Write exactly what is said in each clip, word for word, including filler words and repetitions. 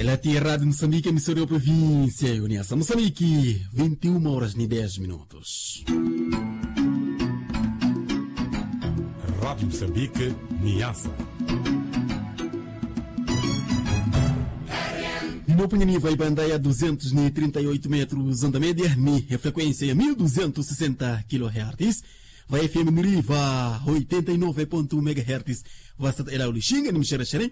Ela ti eradio musambiki emisora ya provincia ya uniasa musambiki. Vinti uma horas ni dez minutos. Rádio Moçambique, Niassa. Ninopunye niva ipanda ya duzentos ni trinta e oito metros onda media ni efrequência ya mil duzentos sessenta kilohertz. Va fm niriva oitenta e nove ponto um megahertz. Vasata ela ulixinga ni mixerexere.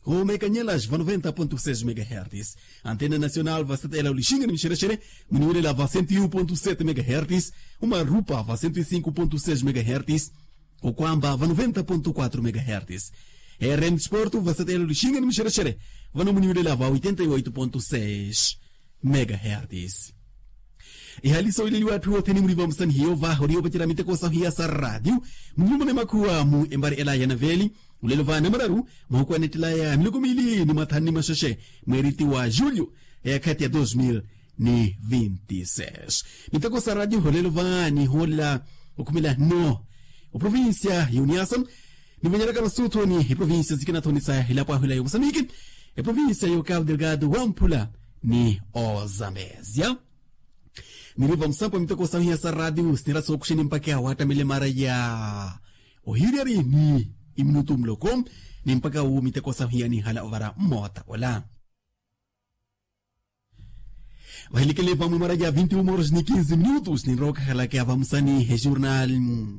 Ho mekanyelas va noventa ponto seis megahertz. Antena nacional vasata ela ulixinga ni mixerexere. Muniwirela va cento e um ponto sete megahertz. Umarupa va cento e cinco ponto seis megahertz. Okwamba va noventa ponto quatro megahertz. Rm sporto vasata ela ulixinga ni mixerexere. Vano muniwirela va oitenta e oito ponto seis megahertz. Ihali sowileliwa atthu othene muli vamusani hiyo va oriyo vacera miteko sahiya sa radio. Mulumune makhuwa mu embari ela ya naveli. Ulelo va namararu mahuku anettelaya miloko mili ni mathanu ni maxexe mweriti wa julio, eyakhati ya dos mil ni vinti seis. Miteko sa radio olelo va niholela okhumela no oprovincia ya uniasa. Nivonyelaka masutho ni eprovincia sikinathonisa elapo ahula ya musamiki, eprovincia ya cabo delgado wamphula ni ozambezia. Niriva musampa miteko sahiya sa radio sinira sookuxeni mpakha wattamele mara ya ohiryari ni iminutu muloko. Ni mpakha wu miteko sahiya nihala ovara mmota ola. Vahilikele vamwe mara ya vinti uma horas ni kinzi minutos ninrookhahalaka vamusani ejurnal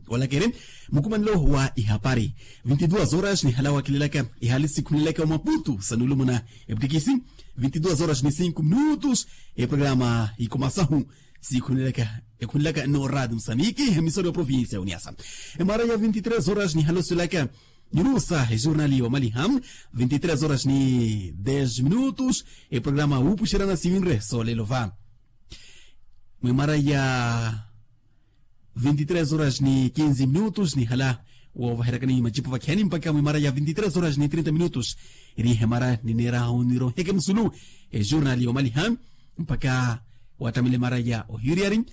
olakere mukumanelo wa ihapari. Vinti duas horas nihala wakilelaka ihali sikhunelaka omaputu sanulumuna eptikisi. Vinti duas horas ni cinco minutos eprograma ikomasahu sikhunelaka ekhunelaka no radio musamiki emisora ya provincia uniasa. Emara ya vinti tres horas nihala osulaka nirusa ejurnali omaliha. Vinti tres horas ni dez minutos eprograma wupuxerana siwinre solelo va mwimara ya vinti tres horas ni kinzi minutos nihala wovaherakani macipo vakhiyani mpakha mwimara ya vinti tres horas ni trinta minutos. Eri hemara nineeraha oniroheke musulu ejurnali omaliha mpakha wattamile mara ya ohiriyari.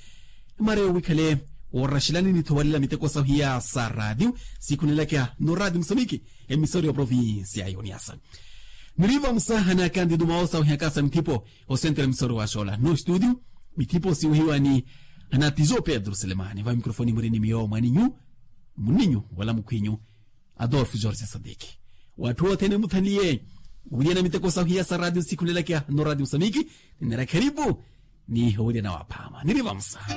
Mara yowikhale woraxelani nithowalela miteko sahiya sa radio sikhunelaka no radio musamiki emisora ya provincia ya uniasa. Niriva musaha na kandidu mawo sawihaka sa mithipo osentere misoro wa xola no studio. Mithipo siwehiwa ni anatizo pedro selemani va mikrofoni murini miyo mwaninyu muninyu wala mukhwinyu adolfo george sadiki. Watthu othene muthanliye wuliyana miteko sahiya sa radio sikhulelakya no radio musamiki. Ninera kheripu ni owuliyana waphama niriva musaha.